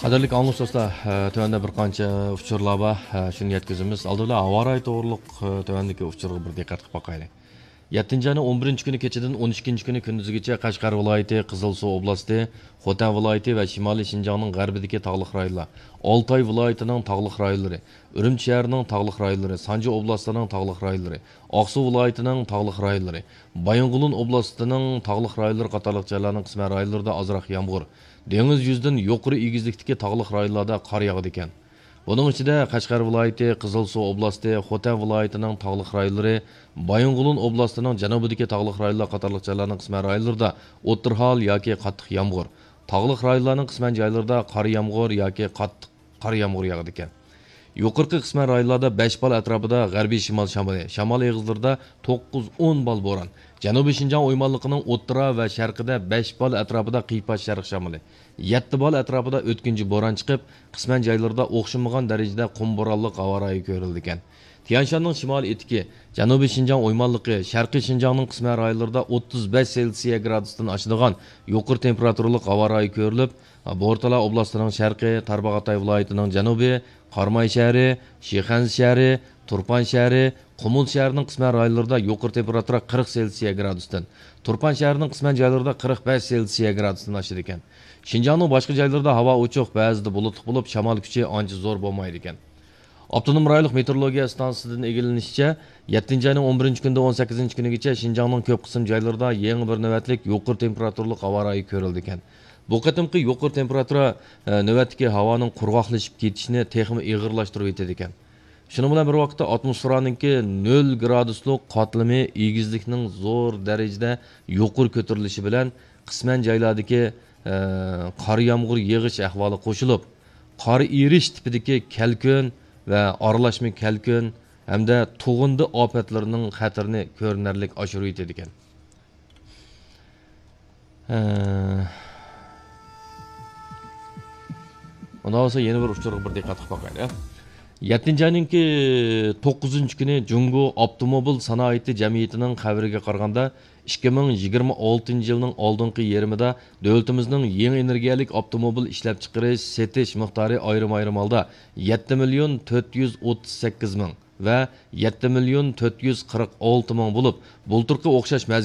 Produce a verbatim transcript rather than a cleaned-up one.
قەدىرلىك ئاڭلىغۇچى دوستلار، تۆۋەندە بىر قانچە ئۇچۇرلار بار، شۇنى يەتكۈزىمىز. ئالدى بىلەن ھاۋا رايى توغرۇلۇق تۆۋەندىكى ئۇچۇرغا بىر دىققەت قىلىپ باقايلى. يەتتىنچى ئاينىڭ ئون بىرىنچى كۈنى كېچىدىن ئون ئىككىنچى كۈنى كۈندۈزگىچە قەشقەر ۋىلايىتى، قىزىلسۇ ئوبلاستى، خوتەن ۋىلايىتى ۋە شىمالىي شىنجاڭنىڭ غەربىدىكى تاغلىق رايونلار، ئالتاي ۋىلايىتىنىڭ تاغلىق رايونلىرى، ئۈرۈمچى شەھىرىنىڭ تاغلىق رايونلىرى، سانجى ئوبلاستىنىڭ تاغلىق رايونلىرى، ئاقسۇ ۋىلايىتىنىڭ تاغلىق رايونلىرى، بايىنغولىن ئوبلاستىنىڭ تاغلىق رايونلىرى قاتارلىق جايلارنىڭ قىسمەن رايونلىرىدا ئازراق يامغۇر، دېڭىز يۈزىدىن يۇقىرى ئېگىزلىكتىكى تاغلىق رايونلاردا قار ياغىدىكەن. بۇنىڭ ئىچىدە قەشقەر ۋىلايىتى، قىزىلسۇ ئوبلاستى، خوتەن ۋىلايىتىنىڭ تاغلىق رايونلىرى، بايىنغولىن ئوبلاستىنىڭ جەنۇبىدىكى تاغلىق رايونلار قاتارلىق جايلارنىڭ قىسمەن رايونلىرىدا ئوتتۇرا ھال ياكى قاتتىق يامغۇر، تاغلىق رايونلارنىڭ قىسمەن جايلىرىدا قارا يامغۇر ياكى قاتتىق قار يامغۇر ياغىدىكەن. يۇقىرىقى قىسمەن رايونلاردا بەش بال ئەتراپىدا غەربىي شىمال شامىلى، شامال ئېغىزلىرىدا توققۇز ئون بال بوران، جەنۇبىي شىنجاڭ ئويمانلىقىنىڭ ئوتتۇرا ۋە شەرقىدە بەش بال ئەتراپىدا قىيپاش شەرق شامىلى، يەتتە بال ئەتراپىدا ئۆتكۈنچى بوران چىقىپ، قىسمەن جايلىرىدا ئوخشىمىغان دەرىجىدە قۇم بورانلىق ھاۋا رايى كۆرۈلىدىكەن. تيەنشاننىڭ شىمالىي ئېتىكى، جەنۇبىي شىنجاڭ ئويمانلىقى، شەرقىي شىنجاڭنىڭ قىسمەن رايونلىرىدا ئوتتۇز بەش سېلسىيە گرادۇستىن ئاشىدىغان يۇقىرى تېمپېراتۇرىلىق ھاۋا رايى كۆرۈلۈپ، بورتالا ئوبلاستىنىڭ شەرقى، تارباغاتاي ۋىلايىتىنىڭ جەنۇبى، قاراماي شەھىرى، شىخەنزە شەھىرى، تۇرپان شەھىرى، قۇمۇل شەھىرىنىڭ قىسمەن رايونلىرىدا يۇقىرى تېمپېراتۇرا قىرىق سېلسىيە گرادۇستىن، تۇرپان شەھىرىنىڭ قىسمەن جايلىرىدا قىرىق بەش سېلسىيە گرادۇستىن ئاشىدىكەن. شىنجاڭنىڭ باشقا جايلىرىدا ھاۋا ئوچۇق، بەزىدە بۇلۇتلۇق بولۇپ، شامال كۈچى ئانچە زور بولمايدىكەن. ئاپتونوم رايونلۇق مېتېئورولوگىيە ئىستانسىسىدىن ئىگىلىنىشىچە، يەتتىنچى ئاينىڭ ئون بىرىنچى كۈنىدىن ئون سەككىزىنچى كۈنىگىچە شىنجاڭنىڭ كۆپ قىسىم جايلىرىدا يېڭى بىر نۆۋەتلىك يۇقىرى تېمپېراتۇرىلىق ھاۋا رايى كۆرۈلىدىكەن. بۇ قېتىمقى يۇقىرى تېمپېراتۇرا، ئە، نۆۋەتتىكى ھاۋانىڭ قۇرغاقلىشىپ كېتىشىنى تېخىمۇ ئېغىرلاشتۇرۇۋېتىدىكەن. شۇنىڭ بىلەن بىر ۋاقىتتا، ئاتموسفېرانىڭكى نۆل گرادۇسلۇق قاتلىمى ئېگىزلىكنىڭ زور دەرىجىدە يۇقىرى كۆتۈرۈلۈشى بىلەن، قىسمەن جايلاردىكى، ئە، قار يامغۇر يېغىش ئەھۋالى قوشۇلۇپ، قار ئېرىش تىپىدىكى كەلكۈن ۋە ئارىلاشما كەلكۈن ھەمدە تۇغۇندى ئاپەتلىرىنىڭ خەتىرىنى كۆرۈنەرلىك ئاشۇرۇۋېتىدىكەن. ھە. ئۇنداق بولسا يەنە بىر ئۇچۇرغا بىر دىققەت قىلىپ باقايلى. يەتتىنچى ئاينىڭكى توققۇزىنچى كۈنى جۇڭگو ئاپتوموبىل سانائىتى جەمئىيىتىنىڭ خەۋىرىگە قارىغاندا، ئىككى مىڭ يىگىرمە ئالتىنچى يىلنىڭ ئالدىنقى يېرىمىدا دۆلىتىمىزنىڭ يېڭى ئېنېرگىيەلىك ئاپتوموبىل ئىشلەپچىقىرىش، سېتىش مىقدارى ئايرىم-ئايرىم ھالدا يەتتە مىليون تۆت يۈز ئوتتۇز سەككىز مىڭ ۋە يەتتە مىليون تۆت يۈز قىرىق ئالتە مىڭ بولۇپ، بۇلتۇرقى ئوخشاش مەزگىل